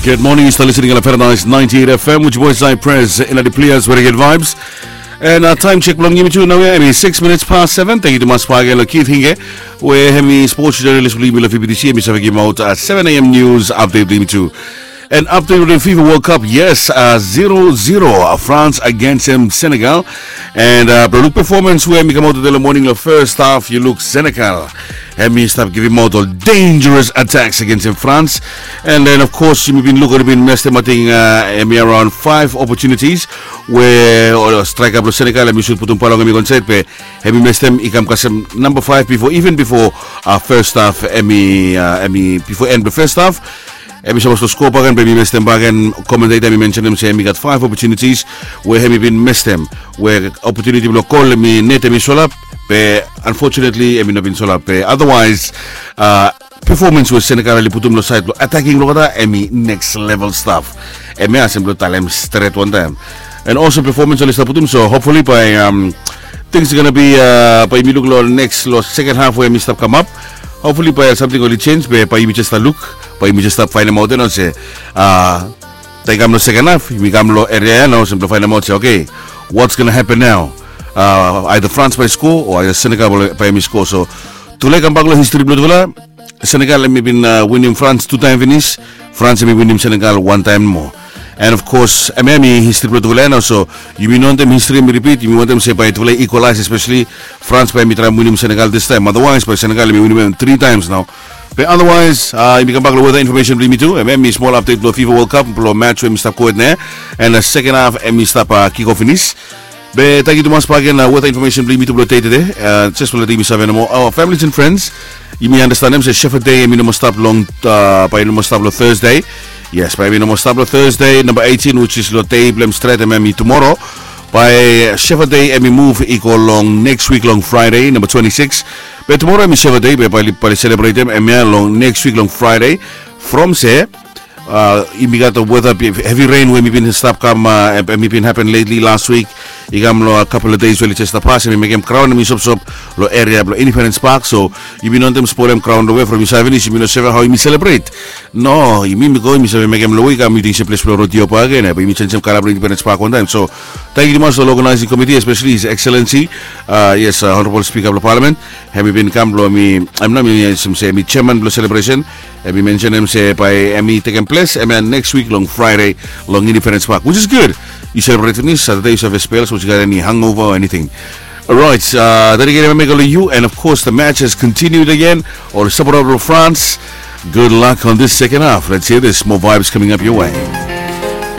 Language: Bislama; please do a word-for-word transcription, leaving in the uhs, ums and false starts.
Good morning, yu stap listening long Paradise ninety-eight F M, which boys I press in the players very good vibes. And uh, time check blong yumi tu nau ya, hemi six minutes past seven. Thank you tumas bak agen long Keith Hinge we hemi sports journalist blong yumi long F B T C, hemi save givim aut uh, seven a.m. news update blong yumi tu. And update with the FIFA World Cup, yes, uh, zero zero, uh, France against um, Senegal. And uh, bro, look performance we hemi kamaot tede long morning long first half, yu look Senegal hemi stap givim aut ol dangerous attacks against um, France. And then of course yumi bin look, yumi bin mestem, I think, uh, hemi around five opportunities we ol striker blong Senegal hemi sut putum pala long hemi go insaed, be hemi mestem, i kam kasem namba five before, even before uh, first half, hemi uh, hemi before end blong first half. Hemi sapos long score bak agen, be hemi mestem bak agen. Commentator hemi mensenem se hemi gat five opportunities we hemi bin mestem, we opportunity blong gol hemi net hemi solap, be unfortunately hemi no bin solap. Be otherwise uh, performance we Senegal oli putum long saed blong attacking blong olgeta, hemi next level stuff. Hemia sem blong talem stret wantaem. And also performance oli stap putum, so hopefully bae um, things are gonna be uh, bae yumi luk long next, long second half we hemi stap kamap. Hopefully bae samting oli change, be bae yumi jes stap luk, bae yumi jes stap faenemaot ya nao se uh, taem i kam long second half, yumi kam long area ya nao se blong faenemaot se, okay, what's gonna happen now? Uh, either France bae score o either Senegal bae hemi score. So tufala i kambak long history blong tufala. Senegal hemi bin uh, winim France tu taem finis. France hemi winim Senegal wan taem moa. And of course hemia hemi history blong tufala ya nao, so yumi no wantem history hemi repeat. Yumi wantem se bae tufala i equalize, especially France bae hemi traem winim Senegal this time. Otherwise bae Senegal hemi winim hem three times nao. Be otherwise uh, yumi kambak long weather information blong yumi tu. Hemia hemi small update blong FIFA World Cup blong match we hemi stap gohed nao. And uh, second half hemi stap uh, kick off finis. Be tangkiu tumas bak agen, uh, weather information blong yumi tu blong dei tede. Uh, jes blong letem yumi save nomo, our families and friends, yumi andastanem se Shepherd Day hemi no moa stap long uh, bae i no moa stap long Thursday. Yes, bae hemi no moa stap long Thursday namba eighteen, which is long dei blong hem stret, hemia hemi tumora. Bae Shepherd Day hemi muv i go long next week long Friday namba twenty-six. Be tumora hemi Shepherd Day, be bae oli, bae oli selebretem hemia long next week long Friday. From se uh, yumi gat weather, heavy rain we hemi bin stap kam, uh, hemi bin happen lately last week. I kam long a couple of days we oli jes stap pas, hemi mekem graon hemi sopsop long area blong Independence Park. So yumi no wantem spolem graon long we from yumi save finis yumi no save hao yumi celebrate. No, yumi, yumi go, yumi save mekem long we i kam, yumi ting se ples blong rodeo bak agen, be yumi jenjem kala blong Independence Park wantaem. So tangkiu tumas long organizing committee, especially His Excellency uh, yes, uh, Honorable Speaker blong Parliament. Hemi bin kam blong hemi, hemi, hemi chairman blong celebration. Hemi mensenem se bae hemi tekem ples hemia next week long Friday long Independence Park, which is good. Yu celebrate finis Saturday, yu save spel, sapos yu gat any hangover or anything. Alright, uh, then again, hemi go long yu, and of course the match has continued again. Ol sapoter blong France, good luck on this second half. Let's hear this, more vibes coming up your way.